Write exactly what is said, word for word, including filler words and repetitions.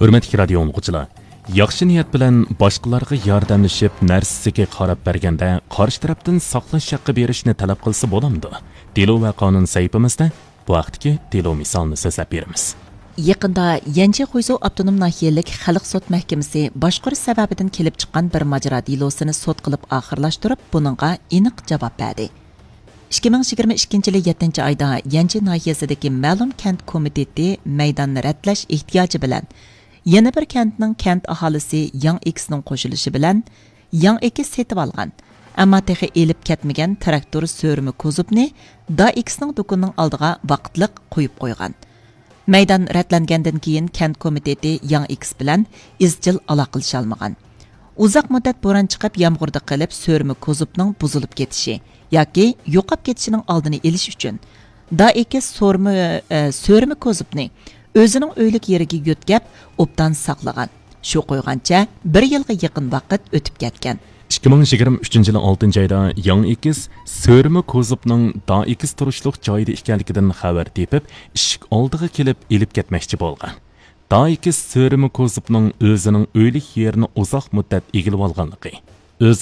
ھۆرمەتلىك رادىيو ئاڭلىغۇچىلار، ياخشى نىيەت بىلەن باشقىلارغا ياردەملىشىپ، نەرسىسىگە قاراپ بەرگەندە، قارشى تەرەپتىن ساقلاش ھەققى بېرىشنى تەلەپ قىلسا بولامدۇ؟ دېلو ۋە قانۇن سەھىپىمىزدە بۇ ھەقتىكى دېلو مىسالىنى سۆزلەپ بېرىمىز. يېقىندا يەنجى خۇيزۇ ئاپتونوم ناھىيەلىك خەلق سوت مەھكىمىسى باشقۇرۇش سەۋەبىدىن كېلىپ چىققان بىر ماجىرا دېلوسىنى سوت قىلىپ ئاخىرلاشتۇرۇپ، بۇنىڭغا ئېنىق جاۋاب بەردى. ئىككى مىڭ يىگىرمە ئىككىنچى يىلى يەتتىنچى ئايدا يەنجى ناھىيەسىدىكى مەلۇم كەنت كومىتېتى مەيدان رەتلەش ئېھتىياجى بىلەن يەنە بىر كەنتنىڭ كەنت ئاھالىسى ياڭ ئېكىسنىڭ قوشۇلۇشى بىلەن ياڭ ئېكىس سېتىۋالغان، ئەمما تېخى ئېلىپ كەتمىگەن تىراكتور سۆرىمە كوزۇپنى دا ئېكىسنىڭ دۇكىنىنىڭ ئالدىغا ۋاقىتلىق قويۇپ قويغان. مەيدان رەتلەنگەندىن كېيىن كەنت كومىتېتى ياڭ ئېكىس بىلەن ئىزچىل ئالاقىلىشالمىغان. ئۇزاق مۇددەت بوران چىقىپ، يامغۇردا قېلىپ، سۆرىمە كوزۇپنىڭ بۇزۇلۇپ كېتىشى ياكى يوقاپ كېتىشىنىڭ ئالدىنى ئېلىش ئۈچۈن، دا ئېكىس سورما، ئە، سۆرىمە كوزۇپنى ئۆزىنىڭ ئۆيلۈك يېرىگە يۆتكەپ، ئوبدان ساقلىغان. شۇ قويغانچە بىر يىلغا يېقىن ۋاقىت ئۆتۈپ كەتكەن. ئىككى مىڭ يىگىرمە ئۈچىنچى يىلى ئالتىنچى ئايدا ياڭ ئېكىس سۆرىمە كوزۇپنىڭ دا ئېكىس تۇرۇشلۇق جايىدا ئىكەنلىكىدىن خەۋەر تېپىپ، ئىشىك ئالدىغا كېلىپ ئېلىپ كەتمەكچى بولغان. دا ئېكىس سۆرىمە كوزۇپنىڭ ئۆزىنىڭ ئۆيلۈك يېرىنى ئۇزاق مۇددەت ئىگىلىۋالغانلىقى، ئۆزىنىڭ